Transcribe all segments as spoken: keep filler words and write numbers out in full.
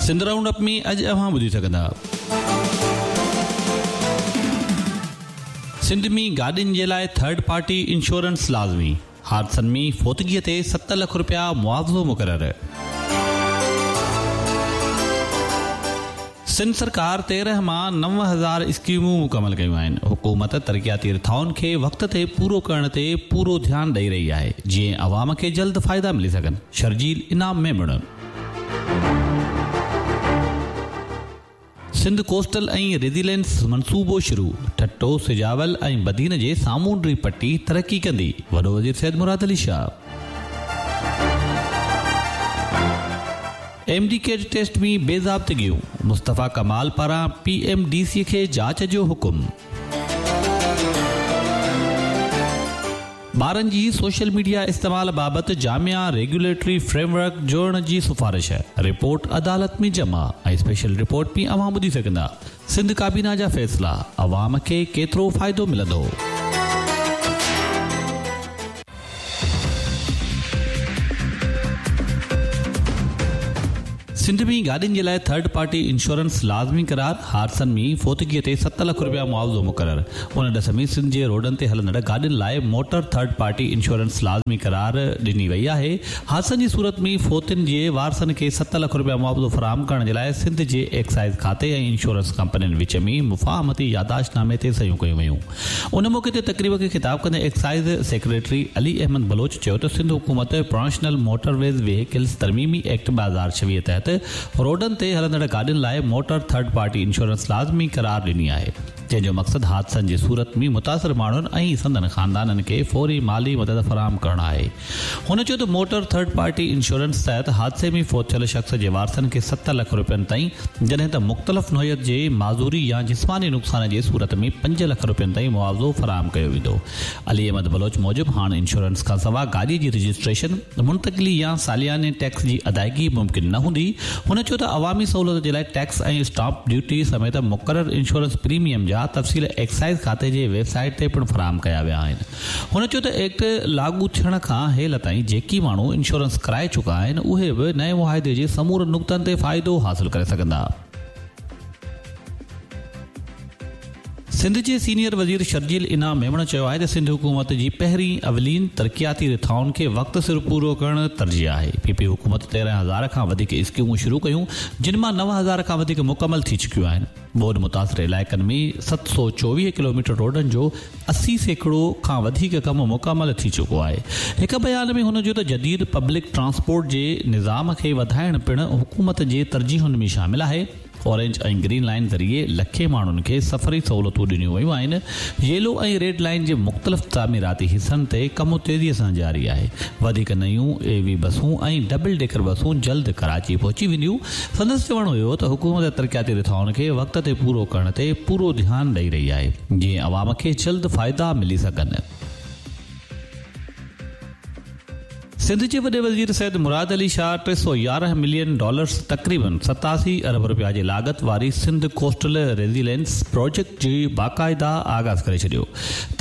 Sindh round up ۾ اڄ اوهان ٻڌي سگهندا. سنڌ ۾ گاڏين جي لاءِ ٿرڊ پارٽي انشورنس لازمي، حادثن ۾ فوتگيءَ تي ست لک رپيا معاوضو مقرر. سنڌ سرڪار تيرهن مان نو هزار اسڪيمون مڪمل ڪيون آهن. حڪومت ترقياتي رٿائن کي وقت تي پورو ڪرڻ تي پورو ڌيان ڏئي رهي آهي، جيئن عوام کي جلد فائدا ملي سگهن. شرجيل انعام ميمڻ. سنڌ ڪوسٽل ۽ ريزيلينس منصوبو شروع، ٺٽو، سجاول ۽ بدين جي سامونڊي پٽي ترقي ڪندي. وڏو وزير Syed Murad Ali Shah. M D CAT test ۾ بيضابطگيون، مصطفيٰ ڪمال پاران پي ايم ڊي سي کي جاچ جو حڪم. ٻارن جي سوشل ميڊيا استعمال بابت جامع ريگيوليٽري فريم ورڪ جوڙڻ جي سفارش، رپورٽ عدالت ۾ جمع. ۽ اسپيشل رپورٽ ۾ اوهان ٻڌي سگهندا سنڌ ڪابينا جا فيصلا، عوام کي ڪيترو فائدو ملندو. سنڌ ۾ گاڏين جي لاءِ ٿرڊ پارٽي انشورنس لازمي قرار، حادثن ۾ فوتگيءَ تي ست لک رپيا معاوضو مقرر. ان ڏس ۾ سنڌ جي روڊن تي هلندڙ گاڏين لاءِ موٽر ٿرڊ پارٽي انشورنس لازمي قرار ڏني وئي آهي. حادثن جي صورت ۾ فوتين جي وارثن کي ست لک رپيا معاوضو فراهم ڪرڻ جي لاءِ سنڌ جي ايڪسائيز کاتي ۽ انشورنس ڪمپنين وچ ۾ مفاهمتي ياداشت نامي تي صحيحون ڪيون ويون. ان موقعي تي تقريب کي خطاب ڪندي ايڪسائيز سيڪريٽري علي احمد بلوچ چيو ته سنڌ حڪومت پروفيشنل موٽر ويز وهيڪلز ترميمي ايڪٽ ٻه هزار ڇويهه تحت روڊن تي هلندڙ گاڏين لاءِ موٽر ٿرڊ پارٽي انشورنس لازمي قرار ڏني آهي، جنهن جو مقصد حادثن جي صورت ۾ متاثر ماڻهن ۽ سندن خاندانن کي فوري مالي مدد فراهم ڪرڻ آهي. هن چيو ته موٽر ٿرڊ پارٽي انشورنس تحت حادثي ۾ فوت ٿيل شخص جي وارثن کي ست لک رپين تائين، جڏهن ته مختلف نوعيت جي معذوري يا جسماني نقصان جي صورت ۾ پنج لک رپين تائين معاوضو فراهم ڪيو ويندو. علي احمد بلوچ موجب هاڻ انشورنس کان سواءِ گاڏي جي رجسٽريشن، منتقلي يا سالياني ٽيڪس جي ادائگي ممڪن نه هوندي. هن چيو ته عوامي سهولت جي لاءِ ٽيڪس ۽ اسٽامپ ڊيوٽي سميت مقرر انشورنس پريميم جا تفصيل ايڪسائيز کاتي جي ويب سائيٽ تي پڻ فراهم ڪيا ويا آهن. هن چيو ته ايڪٽ لاڳو ٿيڻ کان هيل تائين جيڪي ماڻهو انشورنس ڪرائي چڪا آهن اهي به نئين معاهدي جي سمورن نقطن تي فائدو حاصل ڪري سگهندا. سنڌ جي سينيئر وزير شرجيل انعام ميمڻ چيو آهي ته سنڌ حڪومت جي پهرين اولين ترقياتي رٿائن کي وقت سر پورو ڪرڻ ترجيح آهي. پي پي حڪومت تيرهن هزار کان وڌيڪ اسڪيمون شروع ڪيون، جن مان نو هزار کان وڌيڪ مڪمل ٿي چڪيون آهن. ٻوڏ متاثر علائقن ۾ ست سؤ چوويهه ڪلوميٽر روڊن جو اسي سيڪڙو کان وڌيڪ ڪم مڪمل ٿي چڪو آهي. هڪ بيان ۾ هن چيو ته جديد پبلڪ ٽرانسپورٽ جي نظام کي وڌائڻ پڻ حڪومت جي ترجيحن ۾ شامل آهي. اورينج ۽ گرين لائن ذريعي لکين ماڻهن کي سفري سهولتون ڏنيون ويون آهن. ييلو ۽ ريڊ لائن جي مختلف تعميراتي حصن تي ڪم تيزيءَ سان جاري آهي. وڌيڪ نيون اي وي بسون ۽ ڊبل ڊيڪر بسون جلد ڪراچي پهچي وينديون. سندس چوڻ هيو ته حڪومت ترقياتي رٿائن کي وقت تي پورو ڪرڻ تي پورو ڌيان ڏئي رهي آهي، جيئن عوام کي جلد فائدا ملي سگهن. سنڌ جي وڏي وزير سيد مراد علي شاهه ٽي سؤ يارهن ملين ڊالرز تقريبن ستاسي ارب رپيا جي لاڳت واري سنڌ ڪوسٽل ريزيلينس پروجيڪٽ جي باقاعده آغاز ڪري ڇڏيو.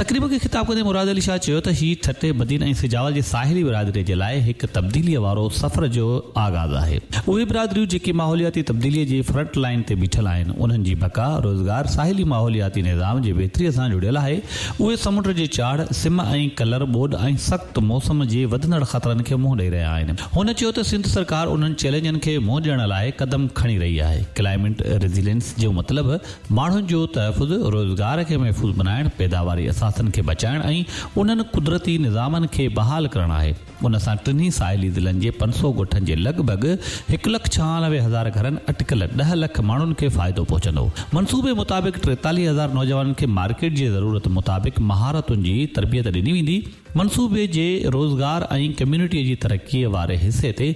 تقريب کي خطاب ڪندي مراد علي شاهه چيو ته هي ٺٽي، بدين ۽ سجاول جي ساحلي برادري جي لاءِ هڪ تبديليءَ وارو سفر جو آغاز آهي. اهي برادريون جيڪي ماحولياتي تبديليءَ جي فرنٽ لائن تي بيٺل آهن، انهن جي بقا، روزگار، ساحلي ماحولياتي نظام جي بهتريءَ سان جڙيل آهي. اهي سمنڊ جي چاڙهه، سم ۽ ڪلر، ٻوڏ ۽ سخت موسم جي وڌندڙ خطرن کي منهن ڏئي رهيا آهن. هن چيو ته سنڌ سرڪار انهن چئلينجن کي منهن ڏيڻ لاءِ قدم کڻي رهي آهي. ڪلائميٽ ريزيلينس جو مطلب ماڻهن جو تحفظ، روزگار کي محفوظ بڻائڻ، پيداواري اثاثن کي بچائڻ ۽ انهن قدرتي نظامن کي بحال ڪرڻ آهي. ان سان ٽنهي ساحلي ضلعن جي پنج سؤ ڳوٺن جي لڳ ڀڳ هڪ لک ڇهانوي هزار گهرن اٽڪل ڏهه لک ماڻهن کي فائدو پهچندو. منصوبي مطابق ٽيتاليهه هزار نوجوانن کي مارڪيٽ جي ضرورت مطابق مهارتن جي تربيت ڏني ويندي. منصوبي جي روزگار ۽ ڪميونٽي جي ترقيءَ واري حصي تي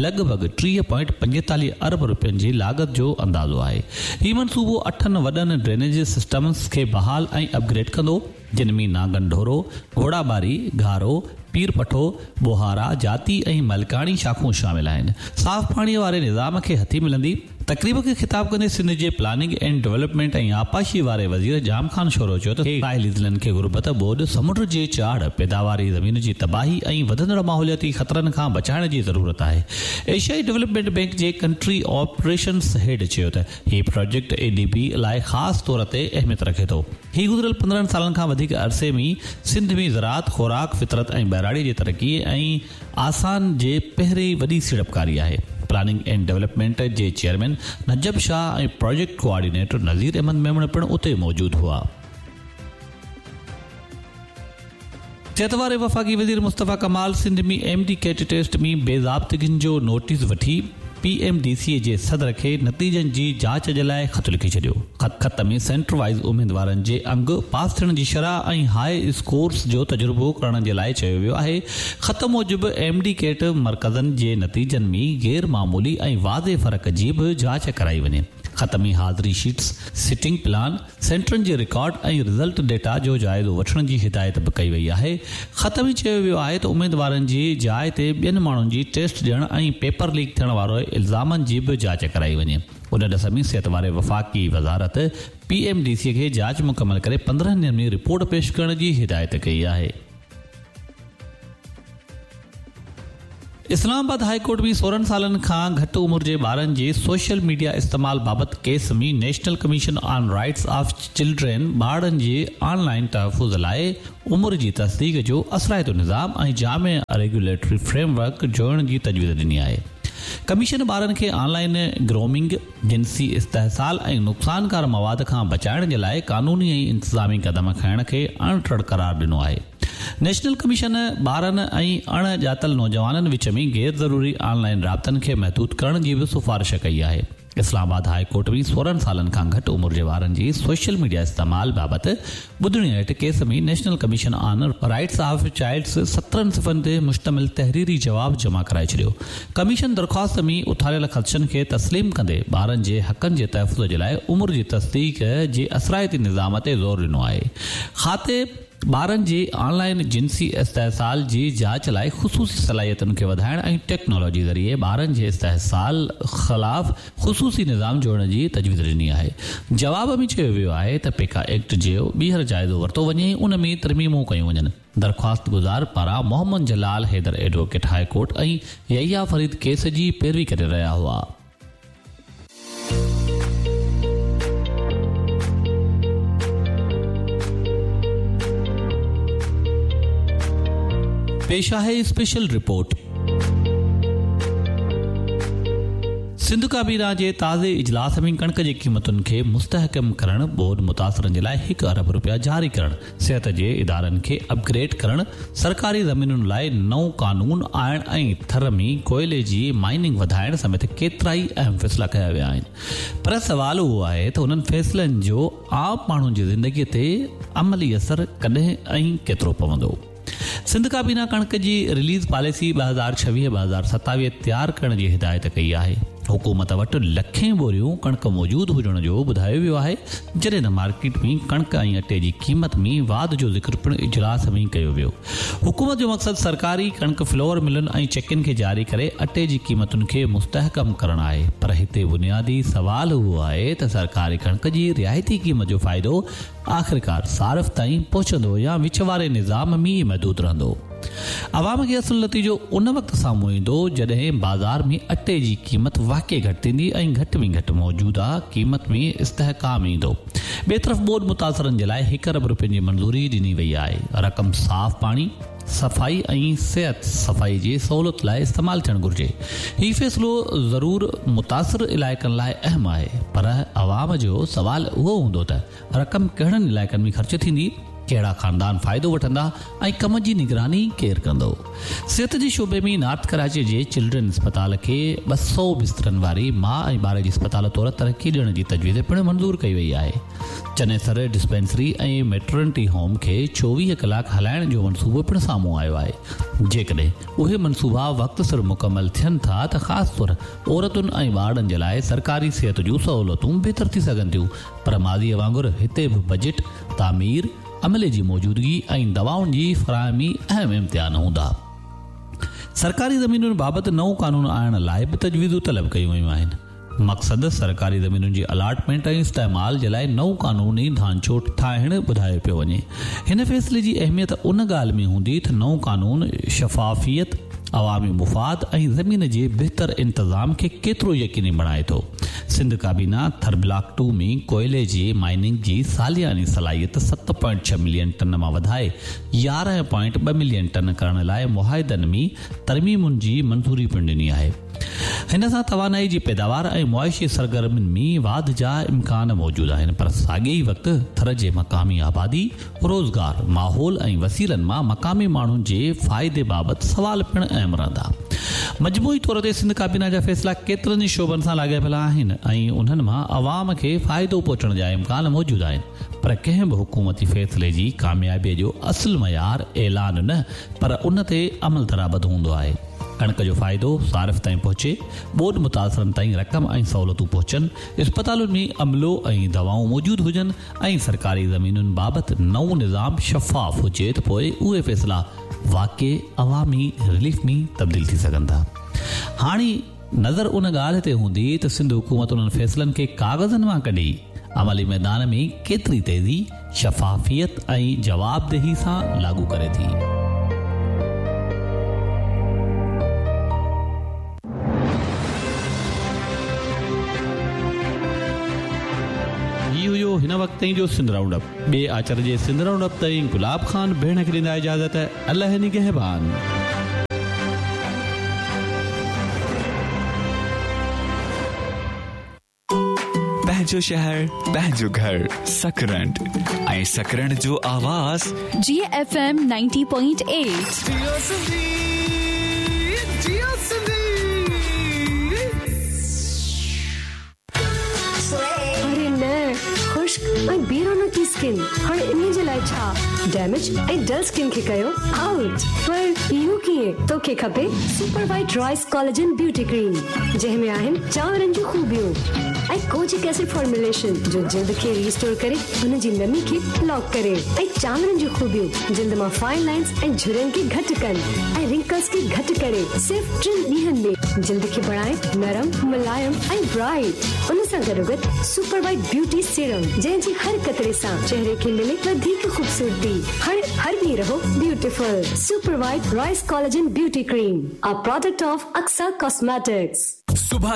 لڳ ڀڳ ٽيهه پوائنٽ پنجيتاليهه ارب رپين جي لاڳت جو اندازو آهي. هي منصوبو اٺن وڏن ڊرينيج سسٽمز کي بحال ۽ اپگريڊ ڪندو، جن ۾ ناگن ڍورو، گهوڙاٻاري، گهارو، پير پٺو، بوهارا، جاتي ۽ ملڪاڻي شاخون شامل آهن. صاف پاڻيءَ واري نظام کي هٿي ملندي. تقريب کي خطاب ڪندي سنڌ جي پلاننگ اينڊ ڊولپمينٽ ۽ آبپاشي واري وزير ڄام خان شورو چيو ته ساحلي ضلعن کي غربت، ٻوڏ، سمنڊ جي چاڙهه، پيداواري زمين جي تباهي ۽ وڌندڙ ماحولياتي خطرن کان بچائڻ جي ضرورت آهي. ايشيائي ڊولپمينٽ بينڪ جي ڪنٽري آپريشنز هيڊ چيو ته هي پراجيڪٽ اي ڊي بي لاء خاص طور تي اهميت رکي ٿو. هي گذريل پندرهن سالن کان وڌيڪ عرصي ۾ سنڌ ۾ زراعت، خوراڪ، فطرت ۽ ٻهراڙي جي ترقي ۽ آسان جي پهرين وڏي سيڙپڪاري آهي. پلاننگ اينڊ ڊولپمينٽ جي chairman Najab Shah ۽ project coordinator Nazir Ahmed Memon پڻ اتي موجود هئا. صحت واري وفاقي وزير Mustafa Kamal Sindh ۾ M D CAT test ۾ بي ضابطگين جو نوٽيس وٺي پي ايم ڊي سي جي صدر کي نتيجن جي جاچ جي لاء خط لکي ڇڏيو. خط ۾ سينٽر وائيز اميدوارن جي انگ، پاس ٿيڻ جي شرح ۽ هاء اسڪورس جو تجربو ڪرڻ جي لاء چيو ويو آهي. خط موجب ايم ڊي ڪيٽ مرڪزن جي نتيجن ۾ غير معمولي ۽ واضح فرق جي به جاچ ڪرائي وڃي. خط ۾ حاضري شيٽس، سٽنگ پلان، سينٽرن جي رڪارڊ ۽ رزلٽ ڊيٽا جو جائزو وٺڻ جي هدايت به ڪئي وئي آهي. خط ۾ چيو ويو آهي ته اميدوارن جي جاء تي ٻين ماڻهن جي ٽيسٽ ڏيڻ ۽ پيپر ليڪ ٿيڻ وارو الزامن جي به جاچ ڪرائي وڃي. ان ڏس ۾ صحت واري وفاقي وزارت پي ايم ڊي سي کي جاچ مڪمل ڪري پندرهن ڏينهن ۾ رپورٽ پيش ڪرڻ جي هدايت ڪئي آهي. اسلام آباد هاء ڪورٽ ۾ سورهن سالن کان گهٽ عمر جي ٻارن جي سوشل ميڊيا استعمال بابت case ۾ national commission on rights of children ٻارڙن جي آن لائن تحفظ لاء عمر جي تصديق جو اثرائتو نظام ۽ جامع ريگيوليٽري فريم ورڪ جوڙڻ جي تجويز ڏني آهي. ڪميشن ٻارن کي آن لائن گرومنگ، جنسي استحصال ۽ نقصانڪار مواد کان بچائڻ جي لاء قانوني ۽ انتظامي قدم کڻڻ کي اڻٽر قرار ڏنو آهي. نيشنل ڪميشن ٻارن ۽ اڻ ڄاتل نوجوانن وچ ۾ غير ضروري آن لائن رابطن کي محدود ڪرڻ جي به سفارش ڪئي آهي. اسلام آباد هاء ڪورٽ ۾ سورهن سالن کان گهٽ عمر جي ٻارن جي سوشل ميڊيا استعمال بابت ٻڌڻي هيٺ case ۾ national commission on rights of childs سترهن صفحن تي مشتمل تحريري جواب جمع ڪرائي ڇڏيو. ڪميشن درخواست ۾ اٿاريل خدشن کي تسليم ڪندي ٻارن جي حقن جي تحفظ جي لاء عمر جي تصديق جي اثرائتي نظام تي زور ڏنو آهي. خاطي ٻارن جي آن لائن جنسي استحصال جي جاچ لاء خصوصي صلاحيتن کي وڌائڻ ۽ ٽيڪنالاجي ذريعي ٻارن جي استحصال خلاف خصوصي نظام جوڙڻ جي تجويز ڏني آهي. جواب ۾ چيو ويو آهي ته پيڪا ايڪٽ جو ٻيهر جائزو ورتو وڃي، ان ۾ ترميمون ڪيون وڃن. درخواست گذار پاران Muhammad Jalal Haider advocate high court ۽ Yahya Farid case جي پيروي ڪري رهيا هئا. پيش آهي اسپيشل رپورٽ. سنڌ ڪابينا جي تازي اجلاس ۾ ڪڻڪ جي قيمتن کي مستحڪم ڪرڻ، ٻوڏ متاثرن جي لاء هڪ ارب رپيا جاري ڪرڻ، صحت جي ادارن کي اپگريڊ ڪرڻ، سرڪاري زمينن لاء نئون قانون آڻڻ ۽ ٿر ۾ ڪوئلي جي مائننگ وڌائڻ سميت ڪيترائي اهم فيصلا ڪيا ويا آهن. پر سوال اهو آهي ته انهن فيصلن جو عام ماڻهن جي زندگي تي عملي اثر ڪڏهن ۽ ڪيترو پوندو؟ سنڌ ڪابينا ڪڻڪ جي رليز پاليسي ٻه هزار ڇويهه ٻه هزار ستاويهه تيار ڪرڻ جي هدايت ڪئي آهي. حڪومت وٽ لکين ٻوريون ڪڻڪ موجود هجڻ جو ٻڌايو ويو آهي، جڏهن ته مارڪيٽ ۾ ڪڻڪ ۽ اٽي جي قيمت ۾ واڌ جو ذڪر پڻ اجلاس ۾ ڪيو ويو. حڪومت جو مقصد سرڪاري ڪڻڪ فلور ملن ۽ چڪين کي جاري ڪري اٽي جي قيمتن کي مستحڪم ڪرڻ آهي، پر هتي بنيادي سوال اهو آهي ته سرڪاري ڪڻڪ جي رعايتي قيمت جو فائدو آخرڪار صارف تائين پهچندو يا وچ واري نظام ۾ ئي محدود رهندو؟ عوام کي اصل نتيجو ان وقت سامهون ايندو جڏهن بازار ۾ اٽي جي قيمت واقعي گهٽ ٿيندي ۽ گهٽ ۾ گهٽ موجوده قيمت ۾ استحڪام ايندو. ٻئي طرف ٻوڏ متاثرن جي لاء هڪ ارب رپين جي منظوري ڏني وئي آهي. رقم صاف پاڻي، صفائي ۽ صحت صفائي جي سهولت لاء استعمال ٿيڻ گهرجي. هي فيصلو ضرور متاثر علائقن لاء اهم آهي، پر عوام جو سوال اهو هوندو ته رقم ڪهڙن علائقن ۾ خرچ ٿيندي، ڪهڙا خاندان فائدو وٺندا ۽ ڪم جي نگراني ڪير ڪندو؟ صحت جي شعبي ۾ نارٿ ڪراچي جي چلڊرن اسپتال کي ٻه سؤ بسترن واري ماء ۽ ٻار جي اسپتال طور ترقي ڏيڻ جي تجويز پڻ منظور ڪئي وئي آهي. چنيسر ڊسپينسري ۽ ميٽرنٽي هوم کي چوويهه ڪلاڪ هلائڻ جو منصوبو پڻ سامهون آيو آهي. جيڪڏهن اهي منصوبا وقت سر مڪمل ٿين ٿا ته خاص طور عورتن ۽ ٻارڙن جي لاء سرڪاري صحت جون سهولتون بهتر ٿي سگهن ٿيون، پر ماضيء وانگر هتي به بجيٽ، تعمير، عملي جي موجودگي ۽ دوائن جي فراهمي اهم امتحان هوندا. سرڪاري زمينن بابت نئون قانون آڻڻ لاء به تجويزون طلب ڪيون ويون آهن. مقصد सरकारी ज़मीनुनि जी अलाटमेंट ऐं इस्तेमाल जे लाइ नओं कानूनी ढांचो ठाहिण ॿुधायो पियो वञे। हिन फ़ैसिले जी अहमियत उन ॻाल्हि में हूंदी त नओं कानून शफ़ाफ़ियत, अवामी मुफ़ाद ऐं ज़मीन जे बहितर इंतज़ाम खे केतिरो यकीनी बणाए थो। सिंध काबीना थर ब्लॉक टू में कोयले जी माइनिंग जी सालियानी सलाहियत सत पॉइंट छह मिलियन टन मां वधाए यारहं पॉइंट ॿ मिलियन टन करण लाइ मुआहिदनि में तरमीमुनि जी मंज़ूरी पिणु ॾिनी आहे। हिन सां तवानाई जी पैदावार ऐं मुआशी सरगर्मियुनि में वाध जा इम्कान मौजूदु आहिनि, पर साॻे ई वक़्तु थर जे मक़ामी आबादी, रोज़गार, माहौल ऐं वसीलनि मां मक़ामी माण्हुनि जे फ़ाइदे बाबति सवाल पिणु अहम रहंदा। मजमूई तौर ते सिंध काबीना जा फ़ैसिला केतिरनि ई शोबनि सां लाॻापियल आहिनि ऐं उन्हनि मां अवाम खे फ़ाइदो पहुचण जा इम्कान मौजूदु आहिनि, पर कंहिं बि हुकूमती फ़ैसिले जी कामयाबीअ जो असुलु मयार ऐलान न पर उन ते अमल दरामद हूंदो आहे। कणिक जो फ़ाइदो सारिफ़ ताईं पहुचे, ॿोॾ मुतासिरनि ताईं रक़म ऐं सहूलियतूं पहुचनि, अस्पतालुनि में अमलो ऐं दवाऊं मौजूदु हुजनि ऐं सरकारी ज़मीनुनि बाबति नओं निज़ाम शफ़ाफ़ हुजे त पोइ उहे फ़ैसिला वाक़ई अवामी रिलीफ में तब्दील थी सघनि था। हाणे नज़र उन ॻाल्हि ते हूंदी त सिंध हुकूमत उन्हनि फ़ैसिलनि खे काग़ज़नि मां कढी अमली मैदान में केतिरी तेज़ी, शफ़ाफ़ियत ऐं जवाबदेही सां लागू करे थी। हिन वक़्त ताईं जो सिंध राउंड अप। ॿिए आचर जे सिंध राउंड अप ताईं गुलाब ख़ान भेण खे ॾींदा इजाज़त। अलाह निगहबान। पंहिंजो शहर, पंहिंजो घर, सकरंड ऐं सकरंड जो आवाज़ जी एफ एम नब्बे पॉइंट आठ। खुश्क ऐं बेरौनकी स्किन हाणे इन जे लाइ छा? डैमेज ऐं डल स्किन खे कयो आउट। पर इहो कीअं? तोखे खपे super white rice collagen beauty cream, जंहिं में आहिनि चांवरनि जूं ख़ूबियूं ऐं कोजिक एसिड फॉर्मुलेशन जो जिल्द खे रिस्टोर करे हुन जी नमी खे लॉक करे ऐं चांवरनि जूं ख़ूबियूं जिल्द मां फाइन लाइन्स ऐं झुरियुनि खे घटि कनि ऐं रिंकल्स खे घटि करे सिर्फ़ टिनि ॾींहंनि में जिल्द खे बणाए नरम, मुलायम ऐं ब्राइट। उन सां गॾोगॾु सुपर वाइट ब्यूटी सीरम जंहिंजी हर कतरे सां चेहरे खे मिले वधीक ख़ूबसूरती। हर हर ॾींहुं रहो beautiful. Super white rice collagen beauty cream, a product of Aksa cosmetics. सुबह